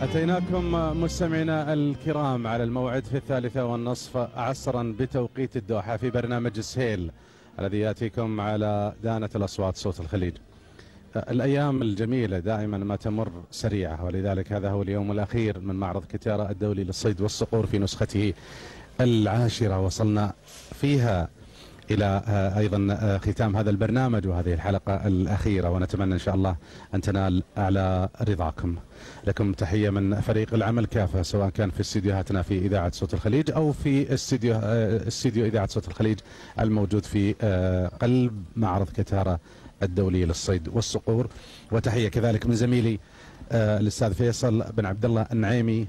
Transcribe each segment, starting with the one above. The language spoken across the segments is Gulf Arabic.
أتيناكم مستمعينا الكرام على الموعد في 3:30 عصرا بتوقيت الدوحة في برنامج السهيل الذي يأتيكم على دانة الأصوات صوت الخليج. الأيام الجميلة دائما ما تمر سريعة، ولذلك هذا هو اليوم الأخير من معرض كتارة الدولي للصيد والصقور في نسخته 10. وصلنا فيها إلى أيضا ختام هذا البرنامج وهذه الحلقة الأخيرة، ونتمنى إن شاء الله أن تنال أعلى رضاكم. لكم تحية من فريق العمل كافة، سواء كان في استديوهاتنا في إذاعة صوت الخليج أو في استديو إذاعة صوت الخليج الموجود في قلب معرض كتارة الدولي للصيد والصقور. وتحية كذلك من زميلي الأستاذ فيصل بن عبد الله النعيمي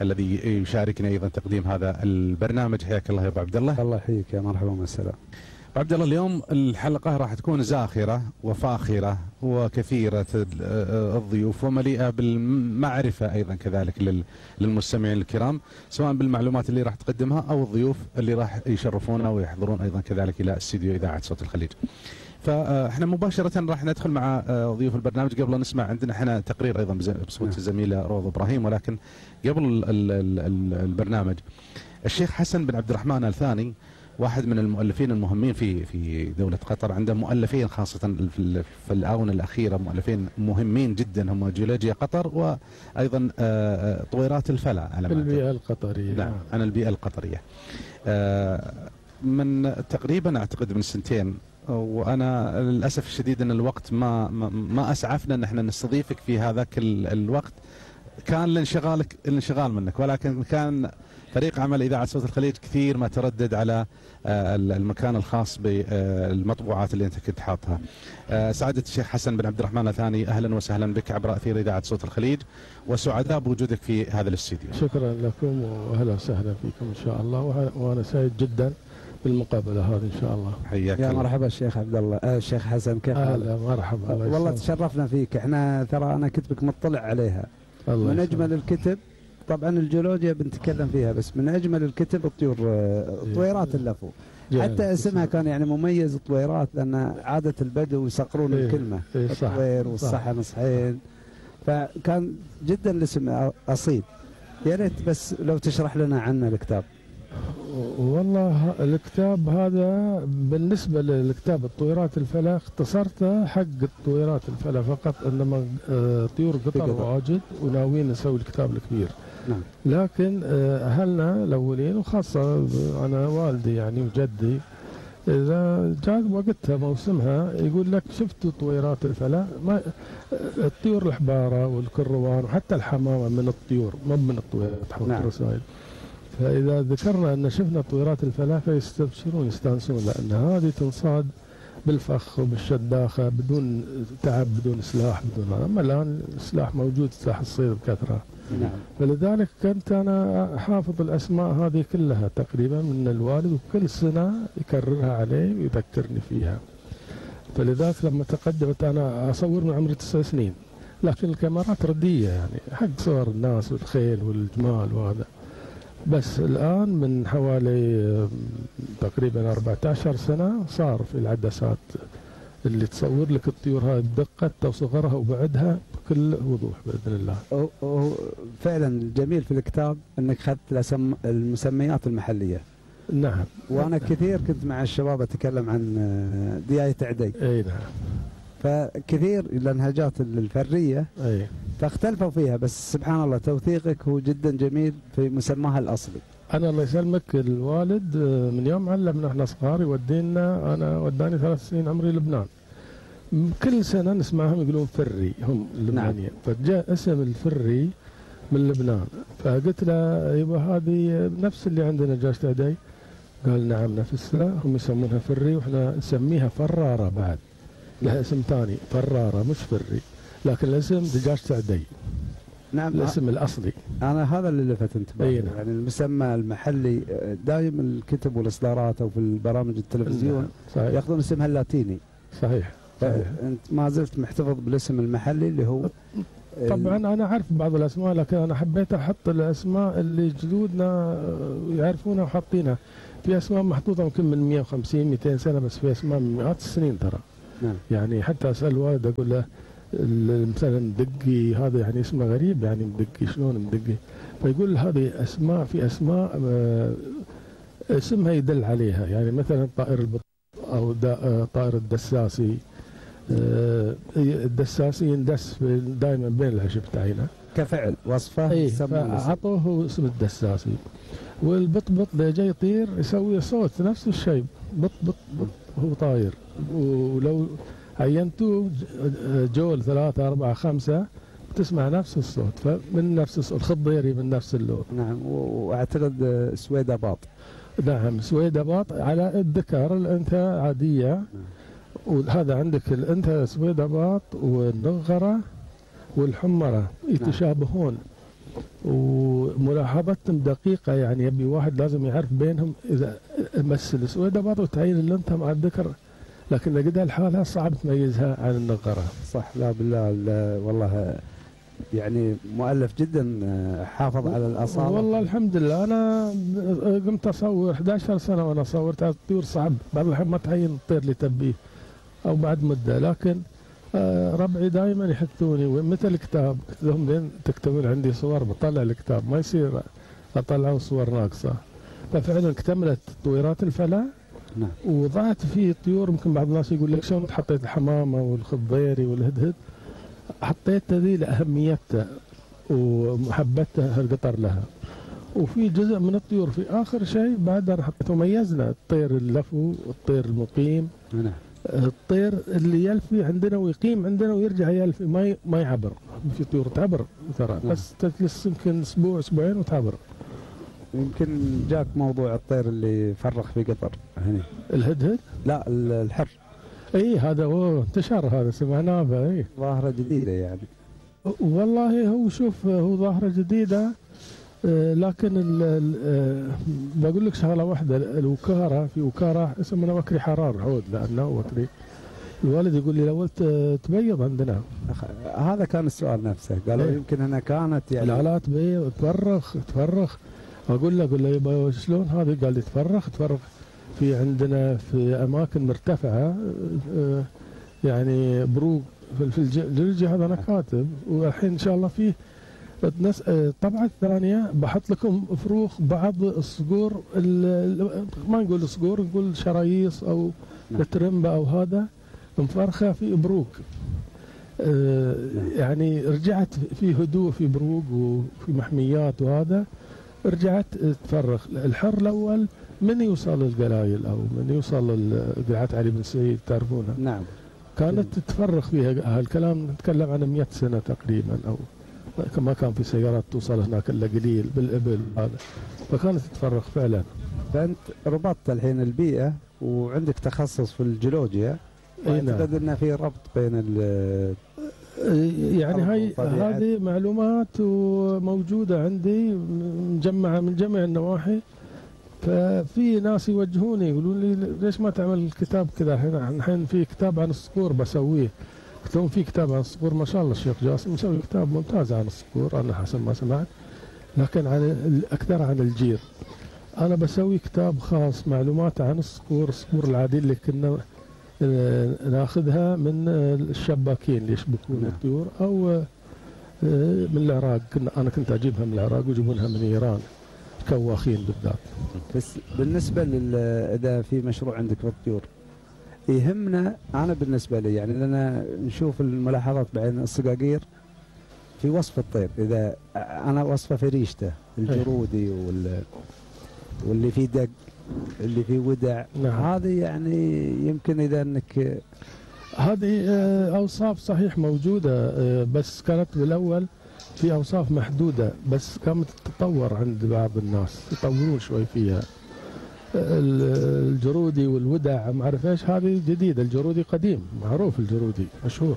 الذي يشاركني أيضا تقديم هذا البرنامج. حياك الله يا أبو عبد الله. الله يحييك يا مرحبا والسلام. أبو عبد الله، اليوم الحلقة راح تكون زاخرة وفاخرة وكثيرة الضيوف ومليئة بالمعرفة أيضا كذلك للمستمعين الكرام، سواء بالمعلومات اللي راح تقدمها أو الضيوف اللي راح يشرفونا ويحضرون أيضا كذلك إلى استديو إذاعة صوت الخليج. فاحنا مباشرة راح ندخل مع ضيوف البرنامج. قبل نسمع عندنا احنا تقرير ايضا بصوت الزميلة روض ابراهيم، ولكن قبل البرنامج الشيخ حسن بن عبد الرحمن آل ثاني واحد من المؤلفين المهمين في دولة قطر. عنده مؤلفين خاصة في الآونة الأخيرة، مؤلفين مهمين جدا، هم جيولوجيا قطر وأيضا طويرات الفلا على البيئة القطرية. نعم، عن البيئة القطرية. من تقريبا أعتقد من سنتين، وأنا للأسف الشديد أن الوقت ما أسعفنا أن احنا نستضيفك في هذاك الوقت، كان الانشغال منك، ولكن كان فريق عمل إذاعة صوت الخليج كثير ما تردد على المكان الخاص بالمطبوعات اللي أنت كنت حاطها. سعادة الشيخ حسن بن عبد الرحمن آل ثاني، أهلا وسهلا بك عبر أثير إذاعة صوت الخليج، وسعداء بوجودك في هذا الاستديو. شكرا لكم وأهلا وسهلا فيكم إن شاء الله، وأنا سعيد جدا بالمقابلة هذه إن شاء الله. حياك يا مرحبا الشيخ عبد الله. الشيخ حسن كيف حالك؟ أهلا مرحبا. والله تشرفنا فيك. احنا ترى أنا كتبك مطلع عليها، من أجمل الكتب. طبعا الجيولوجيا بنتكلم فيها، بس من أجمل الكتب طويرات اللفو. حتى اسمها كان يعني مميز، طويرات، لأن عادة البدو يصقرون الكلمة، الطوير والصحن صحين، فكان جدا الاسم أصيل. يا ريت بس لو تشرح لنا عنه الكتاب. والله الكتاب هذا بالنسبة للكتاب الطويرات الفلا اختصرته حق الطويرات الفلا فقط، انما طيور قطر واجد وناويين نسوي الكتاب الكبير. نعم. لكن اهلنا الاولين وخاصة انا والدي يعني وجدي، اذا جاء وقتها موسمها يقول لك شفتوا طويرات الفلا، ما الطيور الحبارة والكروان وحتى الحمامة من الطيور مو من الطويرات حول الرسائل. فإذا ذكرنا أن شفنا طويرات الفلا فيستبشرون يستانسون، لأن هذه تنصاد بالفخ وبالشداخة بدون تعب بدون سلاح بدون هذا. أما الآن السلاح موجود، سلاح الصيد بكثرة. نعم. فلذلك كنت أنا حافظ الأسماء هذه كلها تقريبا من الوالد، وكل سنة يكررها علي ويذكرني فيها. فلذلك لما تقدمت أنا أصور من عمري 9 سنين، لكن الكاميرات ردية يعني حق صور الناس والخيل والجمال وهذا. بس الآن من حوالي تقريبا 14 سنة صار في العدسات اللي تصور لك الطيور هاي بدقة وصغرها وبعدها بكل وضوح بإذن الله. فعلا الجميل في الكتاب أنك أخذت المسميات المحلية. نعم. وأنا كثير كنت مع الشباب أتكلم عن دياية عدي. أي نعم. فكثير اللهجات الفرية أي فاختلفوا فيها، بس سبحان الله توثيقك هو جدا جميل في مسماها الأصلي. أنا الله يسلمك الوالد من يوم علمنا احنا صغار يودينا، أنا وداني 3 سنين عمري لبنان، كل سنة نسمعهم يقولون فري هم اللبنانيين. نعم. فجاء اسم الفري من لبنان، فقلت له أيوة هذه نفس اللي عندنا دجاجة عدي؟ قال نعم نفسها، هم يسمونها فري وإحنا نسميها فرارة بعد، لها اسم ثاني فرارة مش فري، لكن الاسم دجاجة عدي. نعم. الاسم الأصلي. أنا هذا اللي لفت انتباهي. نعم. يعني المسمى المحلي دائما الكتب والإصدارات أو في البرامج التلفزيون صحيح. يأخذون اسمها اللاتيني. صحيح. أنت ما زلت محتفظ بالاسم المحلي اللي هو طبعا أنا أعرف بعض الأسماء، لكن أنا حبيت أحط الأسماء اللي جدودنا يعرفونها وحاطينها. في أسماء محطوطة يمكن من 150 200 سنة، بس في أسماء من مئات السنين ترى. نعم. يعني حتى أسأل والد أقول له مثلا مدقي، هذا يعني اسمه غريب، يعني مدقي شلون مدقي؟ فيقول هذه أسماء، في أسماء اسمها يدل عليها، يعني مثلا طائر البط أو طائر الدساسي. الدساسي يندس دائما بين العشب تاعينه كفعل وصفه. اي، فأعطوه اسم الدساسي. والبطبط ده جاي يطير يسوي صوت نفس الشيء، بط بط بط هو طاير. ولو عينتوه جول 3 4 5 تسمع نفس الصوت، فمن نفس الصوت. الخضيري من نفس اللون. نعم. واعتقد سويداباط. نعم سويداباط على الذكر، الانثى عاديه. وهذا عندك الانثى سويداباط والنغره والحمره يتشابهون. وملاحظتهم دقيقه، يعني يبي واحد لازم يعرف بينهم اذا مثل السويداباط وتعين الانثى مع الذكر، لكن لقيتها الحالة صعب تميزها عن النغرة. صح. لا بالله والله يعني مؤلف جدا، حافظ على الأصالة. والله الحمد لله. أنا قمت أصور 11 سنة وأنا صورت الطيور، صعب بعض الأحيان ما تعين الطير اللي تبيه أو بعد مدة، لكن ربعي دائما يحثوني. ومثل الكتاب قلت لهم لين تكتبون عندي صور بطلع الكتاب، ما يصير أطلعوا صور ناقصة. ففعلا اكتملت طويرات الفلا. نعم. وضعت فيه طيور. يمكن بعض الناس يقول لك شلون حطيت الحمامة والخضيري والهدهد؟ حطيت ذي لأهميتها ومحبتها القطر لها. وفي جزء من الطيور في آخر شيء بعد أنا حطيته، ميزنا الطير اللفو والطير المقيم. نعم. الطير اللي يلفي عندنا ويقيم عندنا ويرجع يلفي، ما يعبر. في طيور تعبر ترى، بس تجلس يمكن أسبوع أسبوعين وتعبر. يمكن جاك موضوع الطير اللي فرخ في قطر هنا. الهدهد؟ لا الحر. اي هذا انتشر، هذا سمعناه به. اي ظاهرة جديدة يعني. والله هو شوف، هو ظاهرة جديدة. لكن بقول لك شغلة واحدة، الوكارة، في وكارة اسمها وكري حرار عود، لأنه وكري الوالد يقول لي لو تبيض عندنا. هذا كان السؤال نفسه، قالوا يمكن هنا كانت يعني لا تبيض، تفرخ. اقول له يبا شلون هذا؟ قال لي تفرخ في عندنا في اماكن مرتفعه، يعني بروق في الجلجي. هذا انا كاتب، والحين ان شاء الله فيه الطبعه الثانيه بحط لكم فروخ بعض الصقور، ما نقول صقور، نقول شرايص او الترمبه او هذا، مفرخه في بروق. يعني رجعت في هدوء في بروق وفي محميات، وهذا رجعت تفرخ. الحر الاول من يوصل القلايل او من يوصل قلعه علي بن سعيد تعرفونها. نعم. كانت تتفرخ فيها. هالكلام نتكلم عن 100 سنه تقريبا، او ما كان في سيارات توصل هناك الا قليل بالابل هذا، فكانت تتفرخ فعلا. فانت ربطت الحين البيئه وعندك تخصص في الجيولوجيا. اعتقد ان في ربط بين يعني هذه معلومات وموجودة عندي مجمعة من جميع النواحي. ففي ناس يوجهوني يقولون لي ليش ما تعمل كتاب كذا؟ الحين في كتاب عن الصقور بسويه. قلت لهم في كتاب عن الصقور ما شاء الله الشيخ جاسم مسوي كتاب ممتاز عن الصقور، أنا حسب ما سمعت، لكن أكثر عن الجير. أنا بسوي كتاب خاص معلومات عن الصقور العادية اللي كنا ناخذها من الشباكين اللي يشبكون الطيور، او من العراق. انا كنت اجيبها من العراق ويجيبونها من ايران، كواخين بالذات. بس بالنسبه اذا في مشروع عندك في الطيور يهمنا، انا بالنسبه لي يعني لنا نشوف الملاحظات بعين الصقاقير في وصف الطير. اذا انا وصفه في ريشته الجرودي واللي فيه دق، اللي فيه ودع. نعم. هذه يعني يمكن اذا انك هذه اوصاف صحيح موجوده، بس كانت بالاول في اوصاف محدوده، بس قامت تتطور عند بعض الناس، يطورون شوي فيها. الجرودي والودع ما اعرف ايش، هذه جديده. الجرودي قديم معروف، الجرودي مشهور،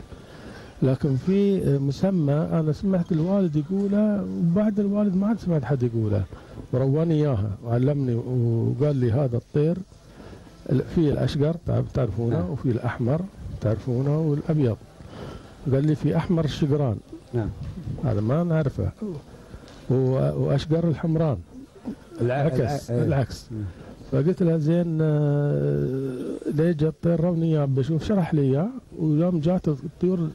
لكن في مسمى انا سمعت الوالد يقوله، وبعد الوالد ما عاد سمعت حد يقوله، ورواني اياها وعلمني وقال لي هذا الطير في الاشقر تعرفونه، وفي الاحمر تعرفونه، والابيض. قال لي في احمر الشقران. نعم. هذا ما نعرفه. واشقر الحمران العكس. فقلت له زين ليه جا الطير روني اياه بشوف، شرح لي اياه. ويوم جات الطيور